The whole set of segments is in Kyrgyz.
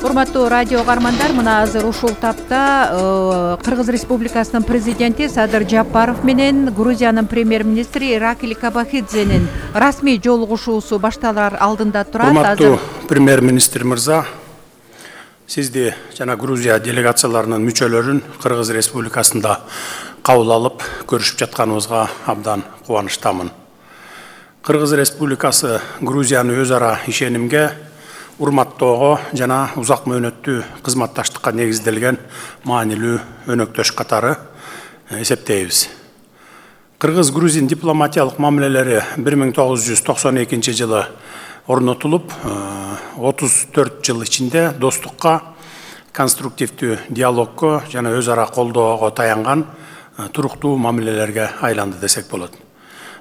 Урматтуу радио каармандар, мына азыр ушул тапта Кыргыз Республикасынын президенти Садыр Жапаров менен Грузиянын премьер-министри Иракли Кобахидзенин расмий жолугушуусу башталар алдында турат. Урматтуу премьер-министр мырза, сизди жана Грузия делегацияларынын мүчөлөрүн Кыргыз Республикасында кабыл алып көрүшүп жатканыбызга абдан кубанычтамын. Кыргыз Республикасы Грузияны өз ара ишенимге, урматтоого жана узак мөөнөттүү кызматташтыкка негизделген маанилүү өнөктөш катары эсептейбиз. Кыргыз-грузин дипломатиялык мамилелери 1992 жылы орнотулуп, 34 жыл ичинде достукка, конструктивдүү диалогко жана өз ара колдоого таянган туруктуу мамилелерге айланды десек болот.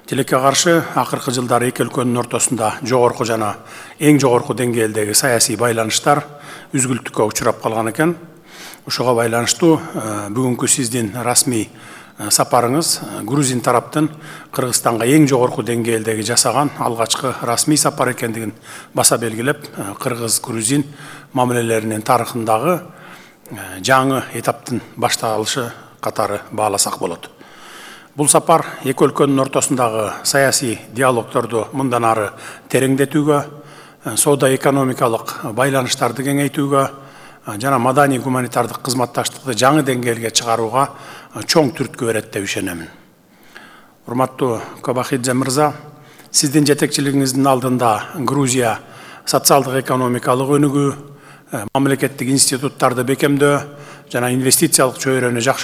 Тилекке каршы акыркы жылдары эки өлкөнүн ортосунда жогорку жана эң жогорку деңгээлдеги саясий байланыштар үзгүлтүккө учурап калган экен. Ошого байланыштуу бүгүнкү сиздин расмий сапарыңыз грузин тараптын Кыргызстанга эң жогорку деңгээлдеги жасаган алгачкы расмий сапар экендигин баса белгилеп, кыргыз-грузин мамилелеринин тарыхындагы жаңы этаптын башталышы катары бааласак болот. Бул сапар эки өлкөнүн ортосундагы саясий диалогторду мындан ары тереңдетүүгө, соода-экономикалык байланыштарды кеңейтүүгө жана маданий-гуманитардык кызматташтыкты жаңы деңгээлге чыгарууга чоң түрткү берет деп ишенемин. Урматтуу Кобахидзе мырза, сиздин жетекчилигиңиздин алдында Грузия социалдык-экономикалык өнүгүү, мамлекеттик институттарды бекемдөө жана инвестициялык чөйрөнү жакшы